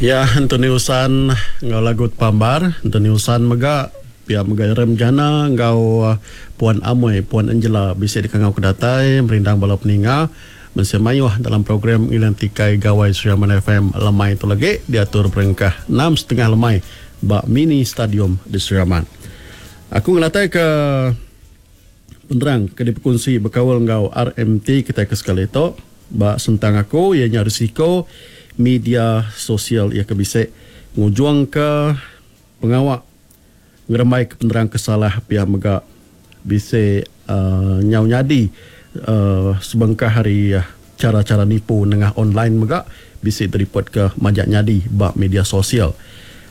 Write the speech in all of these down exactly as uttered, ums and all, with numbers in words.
Ya, Anthony Usan enggau lagu Pambar. Anthony Usan mega pia mega Rem Jana enggau Puan Amoi, Puan Angela bisi dikangau ke datai merindang bala peninga mensia mayuh dalam program Ngiling Tikai Gawai Sri Aman F M lemai tu lagi diatur berengkah enam setengah lemai ba mini stadium di Sri Aman. Aku ngenatai ke penerang ke dipekunsi bekaul enggau R M T kita ke sekali tu ba sentang aku iya nya risiko media sosial iya ke bisi ngujung ke pengawa ngerembai ke penerang kesalah pia mega bisi uh, nyau nyadi uh, sebengkah hari uh, cara-cara nipu nengah online mega bisi direport ke majak nyadi ba media sosial.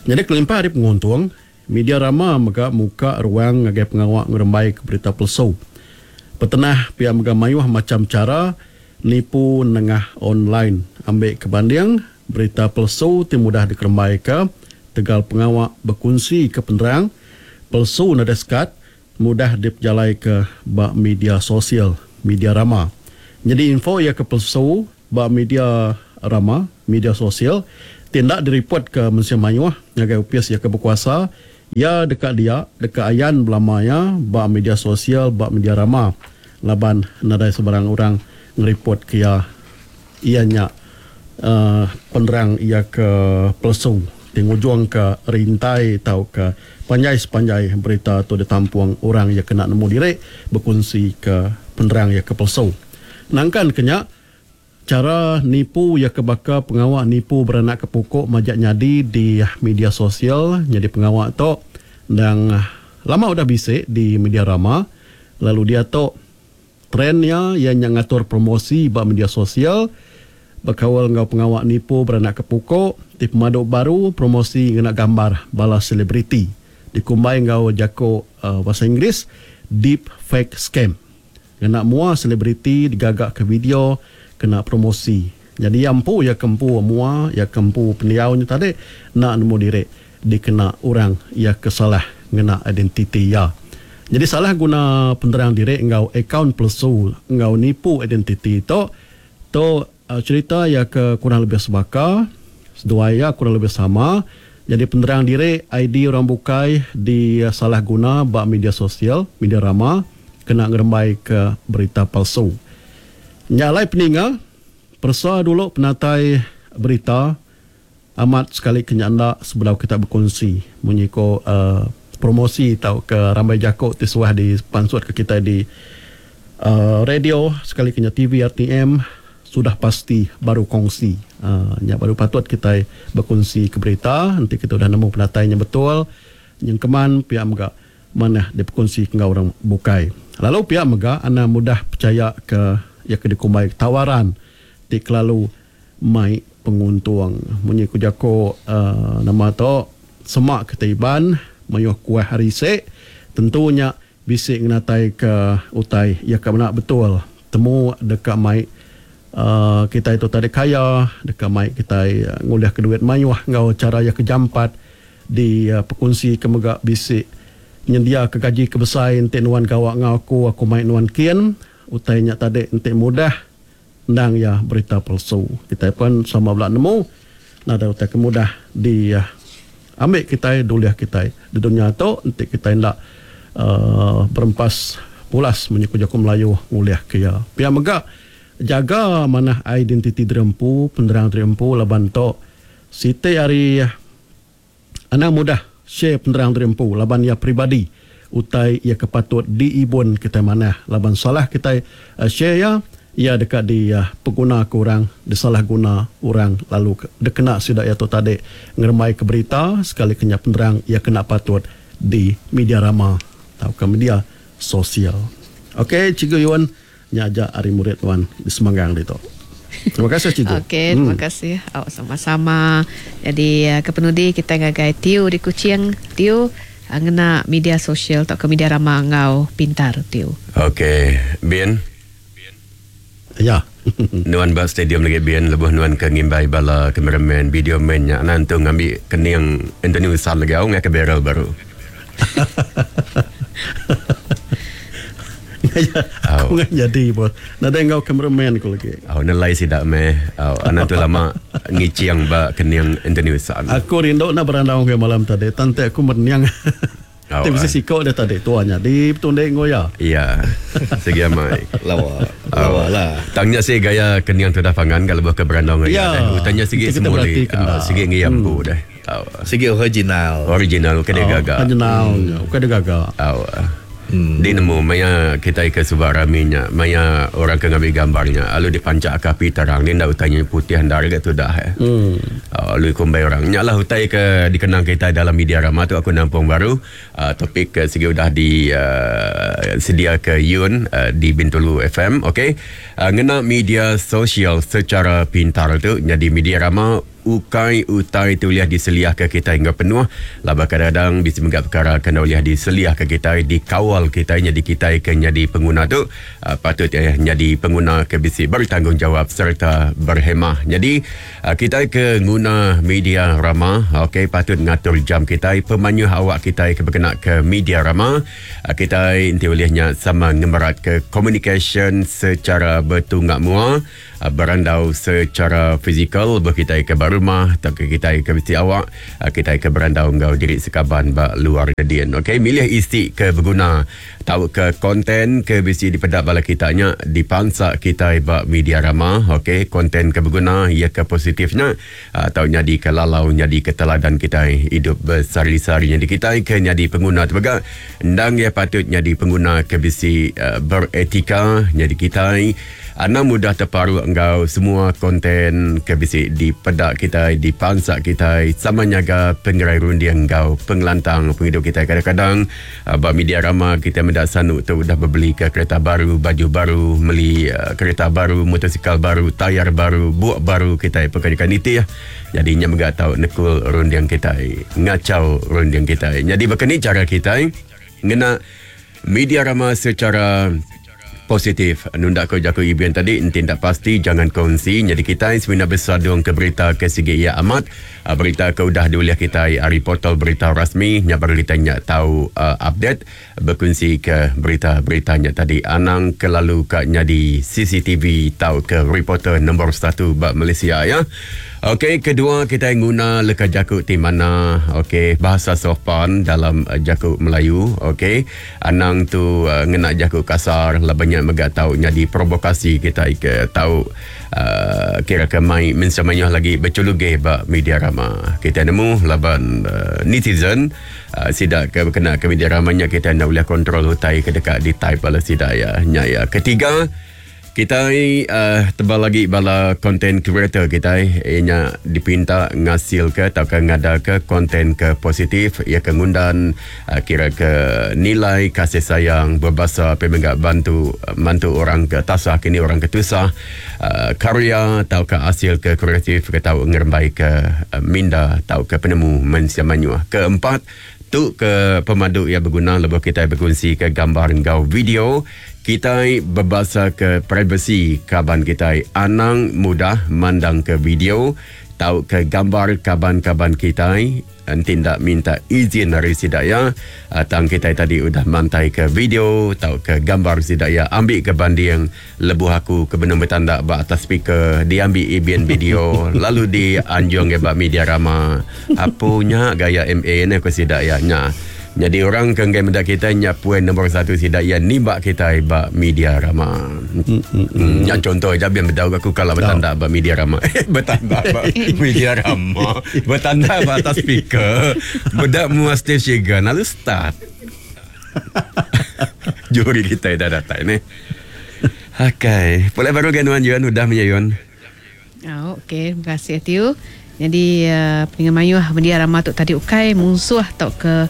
Jadi kelimpah hari penguntung, media rama mega muka ruang ngagai pengawa ngerembai ke berita palsu. Petenah pia mega mayuh macam cara nipu nengah online. Ambil kebanding berita palsu ti mudah dikerembai ke tegal pengawa berkunsi ke penerang palsu nadai sekat mudah dipejalai ke ba media sosial, media rama. Jadi info ia ke palsu ba media rama, media sosial tindak direport ke mensia mayuh ngagai upis ia ke berkuasa, ia dekat dia, dekat ayan belama ya ba media sosial, ba media rama. Laban nadai sebarang orang ngereport ke ia, ia nya uh, penerang ia ke palsu. Tingujung ke rintai atau ke panjai sepanjai berita tu ditampung orang yang kena nemu diri berkongsi ke penerang yang ke palsu. Nangkan kenya cara nipu yang ke baka pengawak nipu beranak ke pokok majak nyadi di media sosial. Jadi pengawak tu dan lama udah bisik di media rama, lalu dia tu trendnya yang ngatur promosi ba media sosial berkawal ngau pengawak nipu beranak ke pokok di pemaduk baru promosi ngena gambar bala selebriti dikumbai ngau jako uh, bahasa Inggeris deep fake scam. Ngena mua selebriti digagak ke video kena promosi. Jadi yang empu ya kempu mua ya kempu pendiaunya tadi nak nemu diri dikena orang ya kesalah ngena identiti ya. Jadi salah guna penerang diri ngau akaun palsu ngau nipu identiti tu tu cerita ya ke kurang lebih sebaka, seduai ya kurang lebih sama. Jadi penerang diri I D orang bukai di salah guna ba media sosial, media rama kena ngerembai ke berita palsu. Nyalai peninga, persa dulu penatai berita amat sekali kenyanda sebelum kita berkongsi munyi ko uh, promosi atau ke rambai jakok ti suah di pansut ke kita di uh, radio sekali kenya T V R T M sudah pasti baru kongsi. Uh, nya baru patut kita berkongsi ke berita, nanti kita udah nemu penatainya betul. Yang keman pihak mega mana dia berkongsi dengan orang bukai. Lalu pihak mega anda mudah percaya ke ya ke dikumbai tawaran ti kelalu mai penguntung. Munyi ku jako uh, nama tu semak ketiban mayuh kuah hari sek tentunya bisik ngenatai ke utai ya ke benar betul. Temu dekat mai Uh, kita itu tadi kaya dekat mai kita uh, nguliah ke duit mayuh ngau cara ya kejampat di uh, perkongsi ke mega bisik nyendia ke gaji ke besar entik nuan gawak ngau aku aku mai nuan kian utainya tadi entik mudah ndang ya berita palsu. Kita pun sama belak nemu nada utai ke mudah di uh, ambil kita duliah kita di dunia tu entik kita ndak uh, berempas pulas menyuku jaku Melayu nguliah ke ya. Pia mega jaga mana identiti derempu, penerang derempu laban tok siti hari anak mudah share penerang derempu laban ia peribadi utai ia kepatut diibun kita mana laban salah kita uh, share ya ia dekat di uh, pengguna ke orang disalah guna orang lalu dikena sidak ia tu tadi ngeremai ke berita sekali kena penerang ia kena patut di media rama atau ke media sosial. Okey, Cikgu Yuan nyajak hari murid tuan di Semanggang itu. Terima kasih cikgu. Okey, terima hmm. kasih. Oh, sama-sama. Jadi ke penudi kita ngagai Tiu di Kuching. Tiu ngena media sosial atau ke media rama ngau pintar Tiu. Okey, Bin. Ya. Nuan ba stadium lagi Bin lebuh nuan ke ngimbai bala cameraman, video man nya nanti ngambil kening Anthony Usan lagi au ngak ke barrel baru. Aku oh. Jadi bos. Nada engkau cameraman aku lagi. Oh, nelai sidak meh. Oh, anak tu lama Ngicing ba kening Anthony Usan. Aku rindu nak berandau ke malam tadi. Tante aku merniang. Oh, Ti bisi ah. siko dia tadi tuanya di petundek ngoya. Ya. Segi amai. Lawa. Lawa lah. Tangnya si gaya kening tu dah pangan kalau buah ke berandau Ya. ya. Dah. Utanya segi Kita semuli. berarti kena. Ah, Segi ngiyam bu dah. Ah, Sigi original. Original ke dia gagak. Panjenal, bukan dia gagak. Aw. Hmm. Dia nemu maya kita ke subak raminya, maya orang ke ngambil gambarnya, lalu dipancak ke api terang, dia ndak utanya putih andar ke tu dah. Eh. Hmm. Uh, lalu kumbai orang. Nya lah utai ke dikenang kita dalam media ramah tu aku nampung baru. Uh, topik ke segi udah di uh, sedia ke Yun uh, di Bintulu F M, okey. Uh, ngena media sosial secara pintar tu jadi media ramah ukai utai tu liah diseliah ke kita hingga penuh. Laba kadang-kadang bisa menggap perkara kena liah diseliah ke kita, dikawal kita, jadi kita ke jadi pengguna tu uh, patut eh, jadi pengguna ke bisi bertanggungjawab serta berhemah. Jadi uh, kita ke guna media ramah, okey, patut ngatur jam kita, pemanyuh awak kita ke berkena ke media ramah. Uh, kita inti olehnya sama ngemerat ke communication secara bertunggak mua, uh, berandau secara fizikal berkitai ke rumah atau ke kita ke mesti awak, kita ke berandau ngau diri sekaban ba luar dedian. Okey, milih isi ke berguna tahu ke konten ke bisi dipedak bala kitanya dipansak kita ba media ramah. Okey, konten ke berguna ia ke positifnya atau nyadi ke lalau nyadi ke teladan kita hidup bersari-sari. Jadi kita ke nyadi pengguna tu mega ndang ia patut nyadi pengguna ke bisi uh, beretika. Jadi kita ana mudah terparu engkau semua konten ke bisi dipedak kita, dipansak kita, sama nyaga pengerai runding engkau pengelantang penghidup kita. Kadang-kadang uh, bab media ramah kita mendak sanuk tu dah berbeli ke kereta baru, baju baru, meli uh, kereta baru, motosikal baru, tayar baru, buak baru kita pekerjakan itu ya. Jadi nya mega tau nekul runding kita, ngacau runding kita. Jadi begini cara kita ngena media ramah secara positif. Nunda ko jaku ibian tadi, enti tak pasti jangan kongsi. Jadi kita sebenarnya bersadung ke berita ke segi ia amat. Berita ke udah diuliah kita hari portal berita rasmi. Nya baru kita nyak tahu uh, update berkongsi ke berita-beritanya tadi. Anang kelalu kat nyadi C C T V tahu ke reporter nombor satu bab Malaysia ya. Okey, kedua kita guna leka jakuk di mana, okey, bahasa sopan dalam uh, jakuk Melayu, okey. Anang tu uh, ngena jakuk kasar, lah banyak mega tahu nyadi provokasi kita ke tahu uh, kira ke mai mensamanya lagi berculuge ba media rama. Kita nemu laban uh, netizen uh, sidak ke kena ke media ramanya kita nak boleh kontrol hutai ke dekat di type bala sidak ya. Nya ya. Ketiga, kita uh, tebal lagi bala content creator kita ianya dipinta ngasil ke atau ke ngada ke konten ke positif ia ke ngundan uh, kira ke nilai kasih sayang berbahasa pemenggak bantu mantu orang ke tasah kini orang ke tusah uh, karya atau ke hasil ke kreatif ke tau ngerembai ke uh, minda atau ke penemu mensia manyuah. Keempat tu ke pemandu yang berguna lebuh kita berkongsi ke gambar engkau video kita berbahasa ke privasi kaban kita. Anang mudah mandang ke video tahu ke gambar kaban-kaban kita nanti tak minta izin dari sidaya tang kita tadi udah mantai ke video tahu ke gambar sidaya ambil ke banding lebuh aku ke benung bertanda ba atas speaker diambil ibian video lalu dianjung ke ba media rama apunya gaya M A ni aku sidaya nya. Jadi orang kenggai mendak kita nyapuan nombor satu sidaya nimbak kita ba media rama. Hmm, hmm. Yang contoh je biar berdau aku kalau bertanda ba media rama. Bertanda ba media rama. Bertanda ba atas speaker. Bedak muas Steve Shegan lalu start. Juri kita dah datang ni. Okey, boleh baru kan Wan Yuan udah menyayun. Oh, okey, terima kasih Tiu. Jadi uh, pendengar mayuh media rama tu tadi ukai musuh atau ke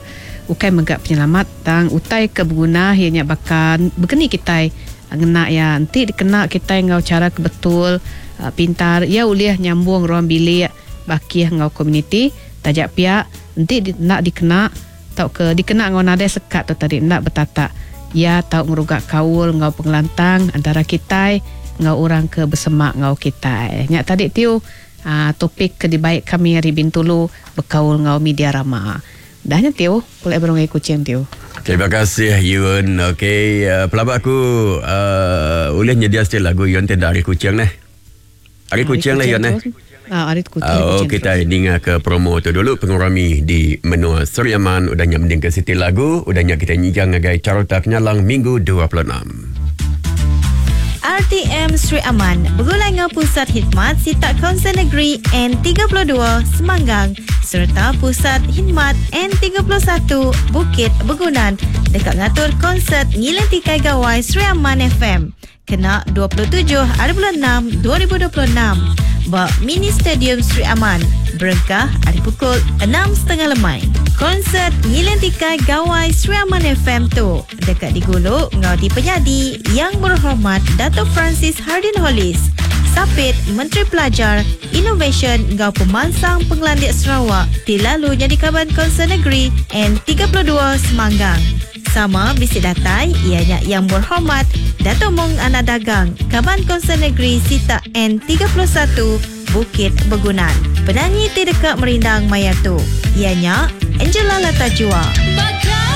ukai megak penyelamat tang utai ke berguna ianya bahkan begini kita ngena ya nanti dikena kita ngau cara kebetul uh, pintar ya uliah nyambung ruang bilik bakih ngau komuniti tajak pihak nanti di, nak dikena tau ke dikena ngau nadai sekat tu tadi nak bertata ya tau ngerugak kaul ngau pengelantang antara kita ngau orang ke bersemak ngau kita nyak tadi tiu uh, topik ke dibaik kami hari Bintulu berkaul ngau media rama. Dahnya Tio, boleh berungai kucing Tio. Terima kasih Yun. Okey, uh, pelabak aku uh, boleh nyedia still lagu Yun tidak hari kucing ni. Hari kucing lah Yun eh. Ah, ari Kuching. Oh, Kuching kita terus. dengar ke promo tu dulu pengurami di menua Sri Aman udah nya mending ke siti lagu udah nya kita nyijang ngagai Carta Kenyalang Minggu dua puluh enam. R T M Sri Aman bergulai dengan Pusat Khidmat Sitak Kaunsil Negeri N tiga puluh dua Semanggang serta Pusat Khidmat N tiga puluh satu Bukit Begunan dekat ngatur konsert Ngiling Tikai Gawai Sri Aman F M kena dua puluh tujuh hari bulan enam dua ribu dua puluh enam ba Mini Stadium Sri Aman berengkah hari pukul enam setengah lemai. Konsert Ngiling Tikai Gawai Sri Aman F M tu dekat di Guluk ngau di Penyadi Yang Berhormat Dato' Francis Hardin Hollis, Sapit Menteri Pelajar, Innovation ngau Pemansang Pengelandik Sarawak ti lalu jadi kaban Kaunsil Negeri N tiga puluh dua Semanggang. Sama bisi datai ianya Yang Berhormat Dato' Mong Anak Dagang, Kaban Kaunsil Negeri Sitak N tiga puluh satu Bukit Begunan. Penyanyi ti dekat merindang maya tu ianya Angela Latajua. Bakal